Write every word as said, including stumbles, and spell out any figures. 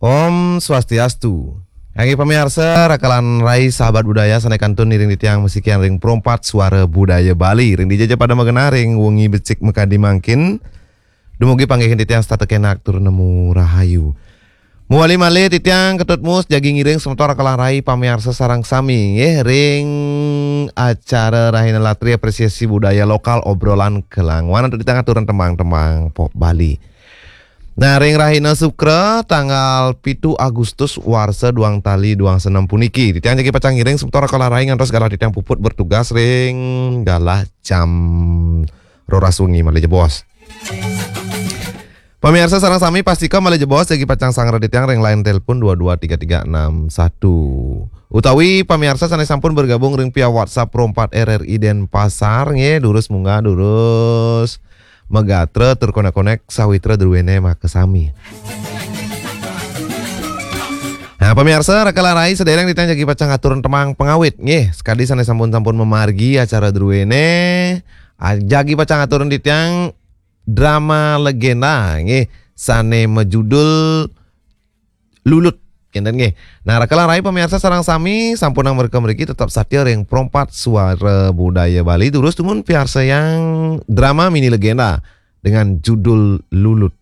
Om Swastiastu. Kangge pamiarsa, raka lan rai sahabat budaya sane kantun ngiring titiang masikian ring Pro empat Suara Budaya Bali. Ring dija ja pada magenah ring wengi becik makadi mangkin. Dumugi panggihin titiang setata kenak tur nemu rahayu. Mawali malih titiang Ketut Mus jagi ngiring semeton raka lan rai pamiarsa sareng sami nggih ring acara Rahina Latri Apresiasi Budaya Lokal Obrolan Kelangwan antuk titiang aturan tembang-tembang pop Bali. Nah, ring rahina Sukra tanggal pitu Agustus warsa duang tali duang senem puniki, titiang jagi pacang ngiring semeton raka lan rai ngantos galah titiang puput bertugas ring galah jam roras wengi malih jebos. Pamiarsa sareng sami, pastika malih jebos jagi pacang sangra titiang ring line telepon dua dua tiga tiga enam satu. Utawi pamiarsa sane sampun bergabung ring via WhatsApp Pro empat R R I Denpasar nggih, durus munggah, durus magatra tur konek-konek sawitra druene makasami. Nah, pamiarsa raka lan rai sedereng titiang jagi pacang aturang tembang pangawit nggih, sakadi sane sampun-sampun mamargi acara druene, a-, jagi pacang aturang titiang drama legenda nggih sane majudul Lulut. Kenten nggih. Nah, raka lan rai pamiarsa sareng sami, sampunang mrika mriki tetep satia ring Pro empat Suara Budaya Bali, durus dumun piarsayang drama mini legenda dengan judul Lulut.